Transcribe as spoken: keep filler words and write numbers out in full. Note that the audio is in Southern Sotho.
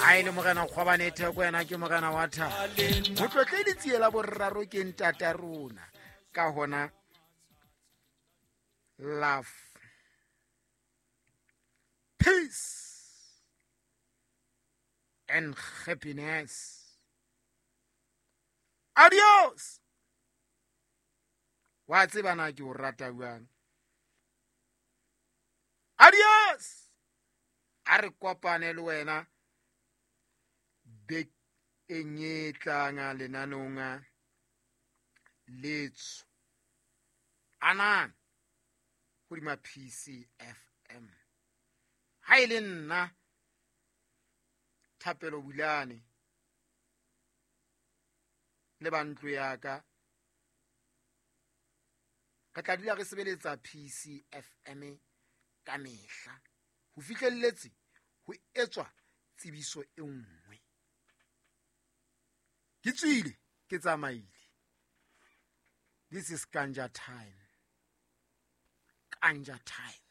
Ha e le Morena Kgwabane Theko, yena ke morena wa thabo. Motlotle Letsie la Boraro ke ntata rona. Ka hona, love, peace and happiness. Adios. Wa tseba na ke o rata jwang. Adios. A re kopane le wena bekeng e tlang lenaneong letsho anang hodima P C F M. Ha e le nna, Thapelo Bulane, le ba ntlo ya ka, re tla dula re sebeletsa P C F M ka mehla ho fihlelletse ho etswa tsebiso e nngwe. Ke tswile, ke tsamaile. This is ganja time, ganja time.